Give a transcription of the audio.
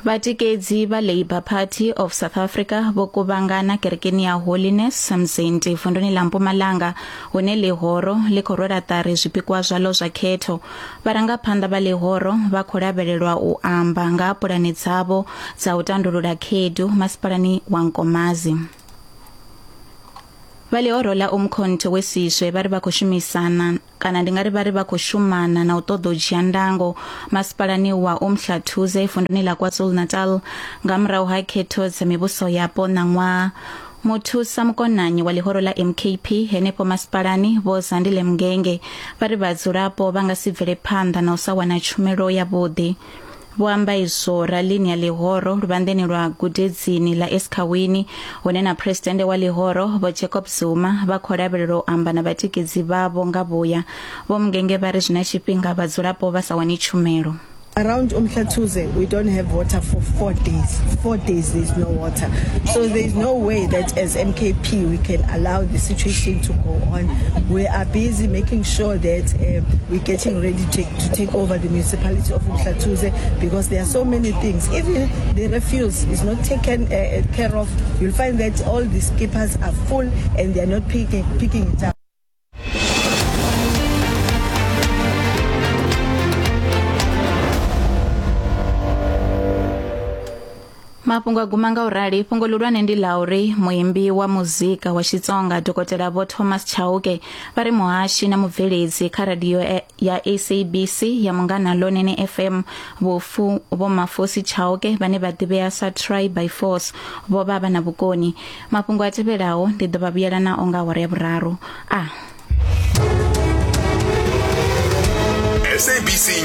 Vhatikedzi vha Labour Party of South Africa vho kuvhangana kerekeni ya Holiness Mzinti vunduni ḽa Mpumalanga hune ḽihoro ḽi khou rwela ṱari zwipikwa zwaḽo zwa khetho. Vharangaphanḓa vha ḽihoro vha khou lavhelelwa u amba nga ha pulane dzavho dza u tandulula khaedu masipalani wa Nkomazi. Vha ḽihoro ḽa Umkhonto we Sizwe vha ri vha khou shumisana kana ndi nga ri vha ri vha khou shumana na u ṱoḓa u dzhia ndango masipalani wa Umhlathuze vunduni ḽa KwaZulu-Natal nga murahu ha khetho dza mivhuso yapo ṋaṅwaha. Muthusa mukonanyi wa ḽihoro ḽa MKP henefho masipalani Vho Zandile Mngenge vha ri vhadzulapo vha nga si bvele phanḓa na u sa wana tshumelo yavhuḓi. Vho amba izwo ralini ya ḽihoro luvhanḓeni lwa gudedzini ḽa Esikhawini hune na Phresidennde wa ḽihoro Vho Jacob Zuma vha khou lavhelelwa u amba na vhatikedzi vhavho nga vhuya. Vho Mngenge vha ri zwi na tshifhinga vhadzulapo vha sa wani tshumelo. Around Umhlathuze, we don't have water for four days. Four days, there's no water. So there's no way that as MKP we can allow the situation to go on. We are busy making sure that uh, we're getting ready to, to take over the municipality of Umhlathuze because there are so many things. Even the refuse is not taken uh, uh care of. You'll find that all the skippers are full and they are not picking, picking it up. Mafhungo a guma nga u rali fhungo ḽihulwane ndi ḽa uri muimbi wa muzika wa Xitsonga Dokotela Vho Thomas Chauke vha ri muhashi na mubveledzi kha radio ya SABC ya Munghana Lonene FM Vhofu Vho Mafosi Chauke vhane vha ḓivhea sa Try by Force vho vha vha na vhukoni. Mafhungo a tevhelaho ndi ḓo vha vhuyela nao nga awara ya vhuraru. A SABC.